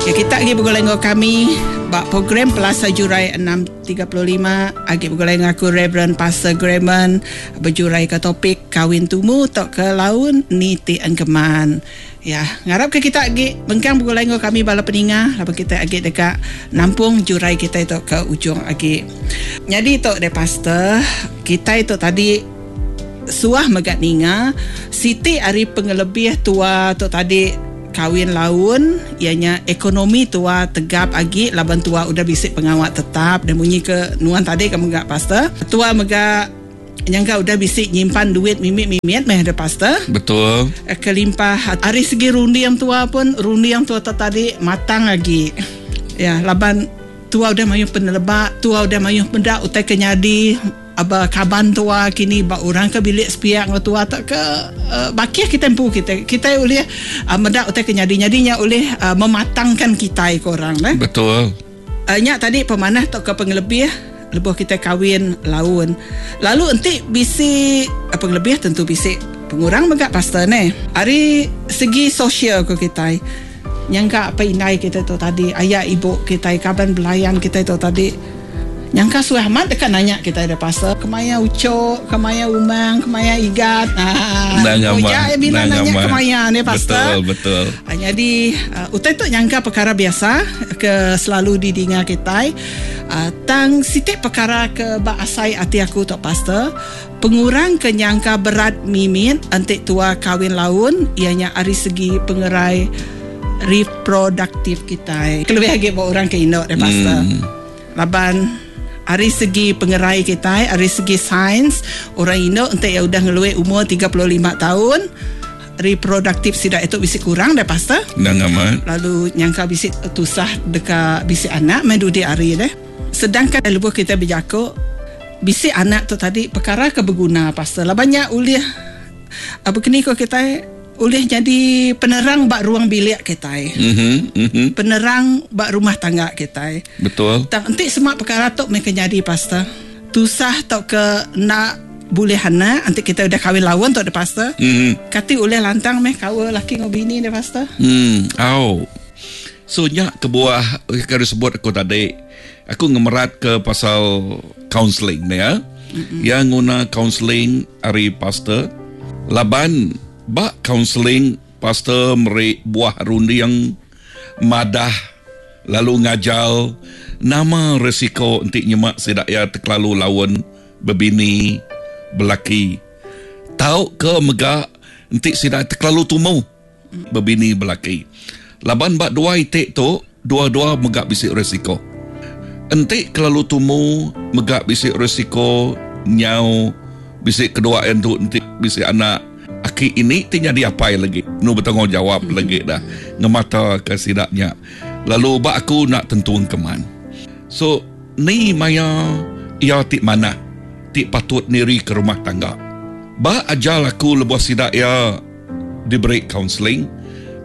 Ya kita agi begulai enggau kami ba program Pelasar Jurai 6:35 agi begulai enggau aku Reverend Pastor Graham bejurai ke topik kawin tumu tauka laun ni ti engkeman. Ya, ngarap ke kita agi mengkang begulai enggau kami bala peninga laban kita agi deka nampung jurai kitai tu ke ujung agi. Nyadi tu deh pastor, kitai tu tadi suah mega ninga siti ari pengelebih tua tu tadi kawin laun iya nya ekonomi tua tegap agi laban tua udah bisi pengawa tetap dan munyi ke nuan tadi ke mega pastor. Tua mega Nyangka udah bisi nyimpan duit mimit-mimit meh deh pastor. Betul. Kelimpah ari segi runding tua pun runding tua tu tadi matang agi. Ya laban tua udah mayuh peneleba, tua udah mayuh meda utai ke nyadi aba kaban tua kini ba orang ke bilik sepiak enggau tua tauka bakih kitai empu kitai. Kitai ulih meda utai ke nyadi. Nyadi nya ulih mematangkan kitai ko orang neh. Betul. Nya tadi pemanah tauka pengelebih lebuh kitai kawin laun. Lalu enti bisi pengelebih tentu bisi pengurang mega pastor neh. Ari segi sosial ku kitai nyangka apai indai kitai tu tadi, aya ibu kitai, kaban belayan kitai tu tadi nyangka suah amat deka nanya kitai da pastor kemaya ucho, kemaya umang, kemaya igat. Haa uja bila nanya kemaya neh pastor. Betul betul. Nyadi utai tu nyangka pekara biasa ke selalu didinga kitai. Tang siti pekara ke ba asai ati aku tu pastor, pengurang ke nyangka berat mimit enti tua kawin laun iya nya ari segi pengerai reproduktif kitai. Kelebih agi ba orang ke indu deh pastor. Laban ari segi pengerai kitai, ari segi sains, orang indu enti iya udah ngelui umur 35 taun, reproduktif sida itu bisi kurang deh pastor. Endang amat. Lalu nyangka bisi tusah deka bisi anak meh dudi hari deh. Sedangkan lebuh kitai bejaku bisi anak tu tadi pekara ke beguna pastor laban nya ulih bekeni ko kitai ulih nyadi penerang ba ruang bilik kitai. Penerang ba rumah tangga kitai. Betul. Tang enti sema pekara tu meh ke nyadi pastor tusah tauka enda Bulih anak enti kitai udah kawin laun tu deh pastor. Kati ulih lantang meh kaul laki enggau bini deh pastor? Em au. So nya kebuah ke disebut aku tadi aku ngemerat ke pasal counseling ne ya. Iya nguna counseling ari pastor laban ba counseling pastor meri buah runding madah lalu ngajar nama risiko enti nyema sida iya tekelalu laun bebini, belaki tauka mega enti sida tekelalu tumu bebini belaki. Laban ba dua iti tu dua-dua mega bisi risiko. Enti kelalu tumu mega bisi risiko nyau bisi kedua endu enti bisi anak aki ini ti nyadi apai lagi enu betanggungjawab lagi dah ngemata ke sida nya lalu ba aku enda tentu engkeman. So ni maya iya ti manah ti patut nirika rumah tangga. Ba ajar aku lebuh sida iya diberi kaunseling,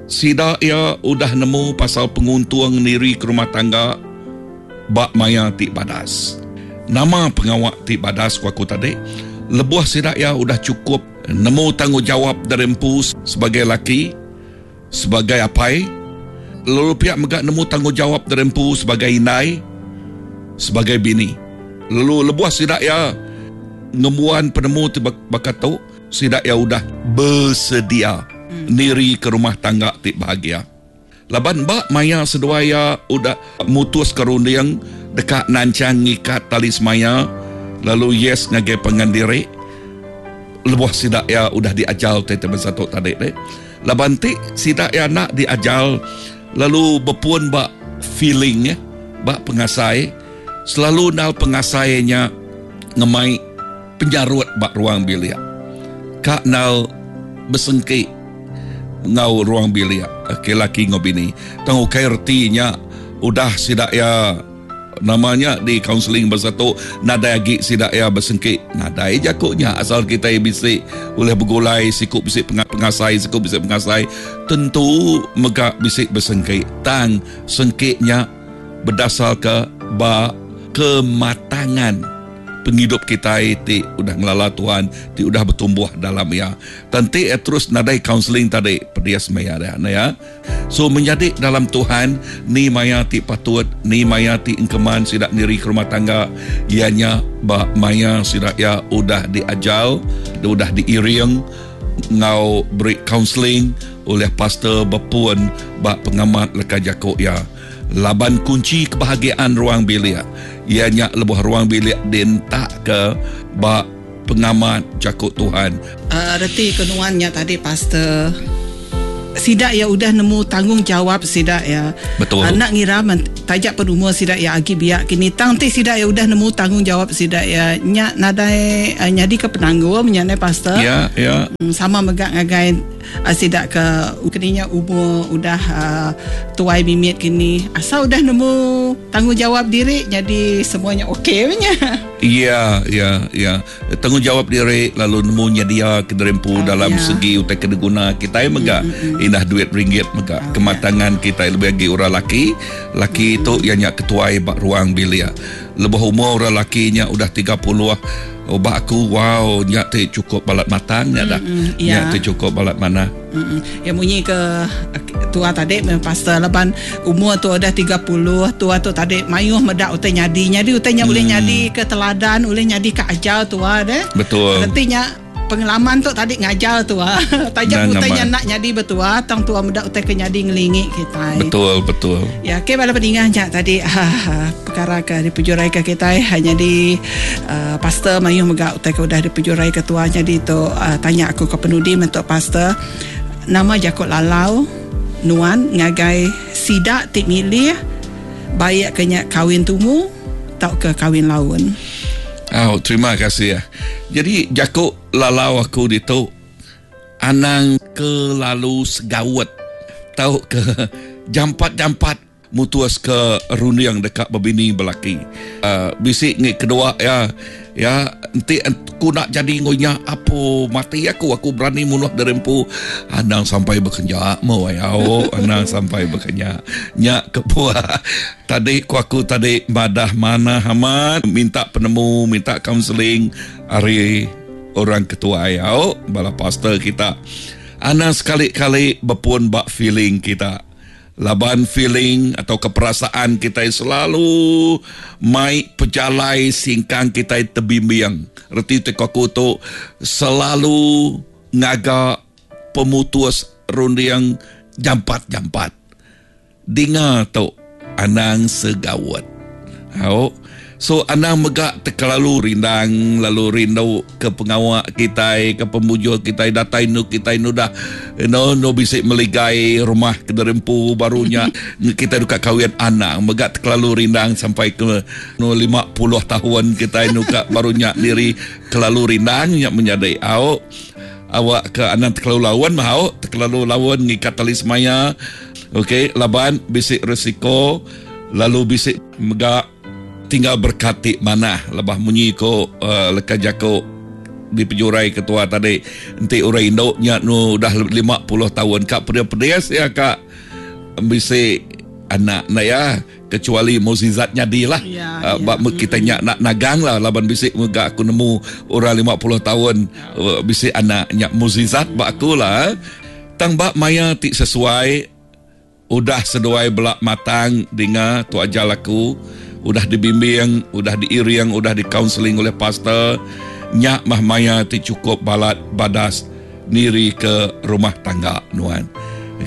sida iya udah nemu pasal penguntung nirika rumah tangga ba maya ti badas. Nama pengawa ti badas ku aku tadi? Lebuh sida iya udah chukup nemu tanggungjawap diri empu sebagai laki, Sebagai apai, lalu pia mega nemu tanggungjawap diri empu sebagai indai, sebagai bini. Lalu lebuh sida iya ngembuan penemu ti baka tu, sida iya udah besedia nirika rumah tangga ti bahagia. Laban ba maya seduai iya udah mutuska runding deka nanchang ngikat tali semaya lalu yes ngagai pangan diri, lebuh sida iya udah diajar utai ti bansa tu tadi deh. Laban ti sida iya enda diajar lalu bepun ba feeling ba pengasai selalu enggau pengasai nya ngemai penyarut ba ruang bilik ka enggau besengki enggau ruang bilik ke laki enggau bini. Tang ukai reti nya udah sida iya. Nama nya di kaunseling bansa tu nadai agi sida iya besengki. Nadai jaku nya asal kitai bisi ulih begulai siku bisi pengasai siku bisi pengasai tentu mega bisi besengki tang sengki nya bedasarka ba kematangan. pengidup kitai ti udah ngelala Tuhan ti udah betumbuh dalam iya. Tang enti iya terus nadai counseling tadi pedis meh iya dia ne ya. So menyadi dalam Tuhan ni maya ti patut ni maya ti engkeman sida niri ke rumah tangga iya nya ba maya sida iya udah diajar udah diiring enggau beri counseling ulih pastor bepun ba pengamat leka jaku iya. Laban kunchi kebahagiaan ruang bilik iya nya lebuh ruang bilik dientakka ba pengamat jaku Tuhan. Reti ke nuan nya tadi pastor. Sida iya udah nemu tanggungjawab sida iya. Betul. Enda ngira men taja pen umur sida iya agi biak kini tang enti sida iya udah nemu tanggungjawab sida iya nya nadai nyadika penanggul nya neh pastor. Ya, ya. Sama mega ngagai Sida ke kini nya umur udah tuai mimit kini asal udah nemu tanggungjawab diri nyadi semua nya ok meh nya. Iya iya iya tanggungjawab diri lalu nemu nyedia ke diri empu dalam segi utai ke diguna kitai mega indah duit ringgit mega kematangan kitai lebih agi orang laki laki tu iya nya ketuai ba ruang bilik lebuh umur orang laki nya udah 30 Ba aku wow nya ti chukup balat matang nya dah. Nya ti chukup balat manah. Ya munyi ke tua tadi meh pastor laban umur tua udah 30 tua tu tadi mayuh meda utai nyadi. Nyadi utai nya ulih nyadi ke teladan ulih nyadi ke ajar tua deh. Betul. Reti nya pengalaman tu tadi ngajar tua. Taja utai nya enda nyadi ba tua tang tua meda utai ke nyadi ngelingi kitai. Betul betul. Ya okey bala peninga nya tadi perkara ke dipejuraika kitai nyadi pastor mayuh mega utai ke udah dipejuraika tua nyadi tu tanya aku ke penudi mentu pastor nama jaku lalau nuan ngagai sida ti milih baik ke nya kawin tumu tauka kawin laun. Au terima kasih. Jadi jaku lalau aku ditu anang kelalu segaut tauka jampat-jampat mutus ke runding deka bebini belaki. Bisi ngi kedua iya ya enti aku enda jadi enggau inya apo mati aku aku berani munuh diri empu anang sampai bekenya meh wai au anang sampai bekenya. Nya kebuah tadi ku aku tadi madah manah amat minta penemu minta kaunseling ari orang ketuai au bala pastor kita. Anang sekali-kali bepun ba feeling kita. Laban feeling atauka perasaan kitai selalu mai pejalai singkang kitai tebimbing. Reti ti ku aku tu selalu ngaga pemutus runding jampat-jampat. Dinga tu anang segaut. Au. So anang mega tekelalu rindang lalu rindu ke pengawa kitai ke pemujur kitai datai enu kitai enu dah eno enu bisi meligai rumah ke diri empu baru nya kitai deka kawin anang mega tekelalu rindang sampai ke enu 50 tahun kitai enu ka baru nya diri kelalu rindang nya menyadi au. Awak ke anang tekelalu laun mah au tekelalu laun ngikat tali semaya ok laban bisi risiko lalu bisi mega tinggal berkat ti manah lebah munyi ko leka jaku dipejurai ketua tadi enti orang indu nya nu udah 50 taun ka pedis-pedis iya ka bisi anak ne iya. Kecuali mukjizat nyadi lah. Ya, uh, ya. Kita nya nak nagang lah laban bisi mega aku nemu orang 50 tahun uh, bisi anak nya mukjizat ba aku lah. Tang ba maya ti sesuai udah seduai bela matang dinga tu ajar aku udah dibimbing, udah diiring, udah di counseling oleh pastor nya mah maya ti cukup balat badas niri ke rumah tangga nuan.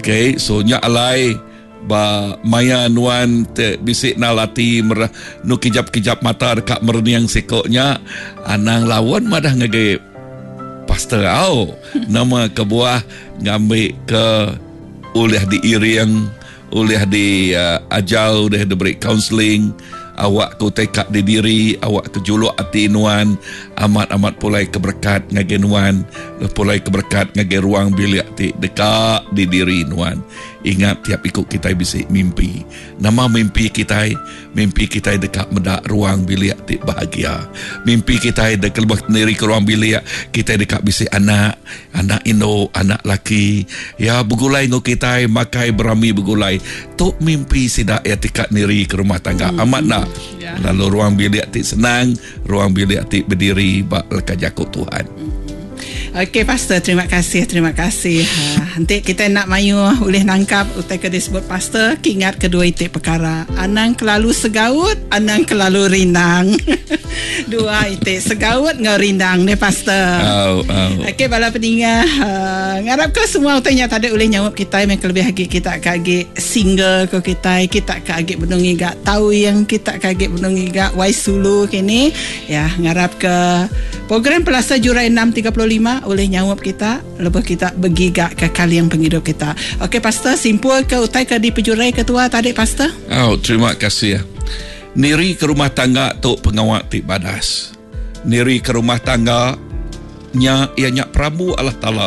Okay, so nya alai Ba maya nuan te bisi nal ati merah nu kijap-kijap mata deka merening siko nya, anang laun madah ngagai pastor au. Nama kebuah ngambi ke ulih diiring, ulih diajar, ulih diberi kaunseling awak ke utai ka didiri, awak ke juluk ati nuan amat-amat pulai ke berekat ngagai nuan, pulai ke berekat ngagai ruang bilik ti deka didiri nuan. Ingat tiap iku kitai bisi mimpi. Nama mimpi kitai? Mimpi kitai deka meda ruang bilik ti bahagia. Mimpi kitai deka lebuh niri ke ruang bilik, kitai deka bisi anak, anak indu, anak laki. Ya begulai enggau kitai makai berami begulai. Tu mimpi sida iya ti ka niri ke rumah tangga. Hmm. Amat enda? Ya. Lalu ruang bilik ti senang, ruang bilik ti bediri ba leka jaku Tuhan. Hmm. Okey pastor terima kasih terima kasih. Ha enti kitai enda mayuh ulih nangkap utai ke disebut pastor ke ingat kedua iti pekara anang kelalu segaut anang kelalu rindang. Dua iti segaut enggau rindang deh pastor. Au au. Okey bala peninga ha ngarap ke semua utai nya tadi ulih nyaup kitai meh kelebih agi kita ke agi single ko kitai kita ke agi benung ngiga tawing kita ke agi benung ngiga wai sulu kini. Ya, ngarap ke program Pelasa Jurai 6.35 ulih nyaup kita lebuh kita begiga ke kaling pengidup kita. Okey pastor, simpul ke utai ke dipejurai ke tua tadi pastor? Au, terima kasih. Niri ke rumah tangga tu pengawa ti badas. Niri ke rumah tangga nya iya nya perambu Allah Taala.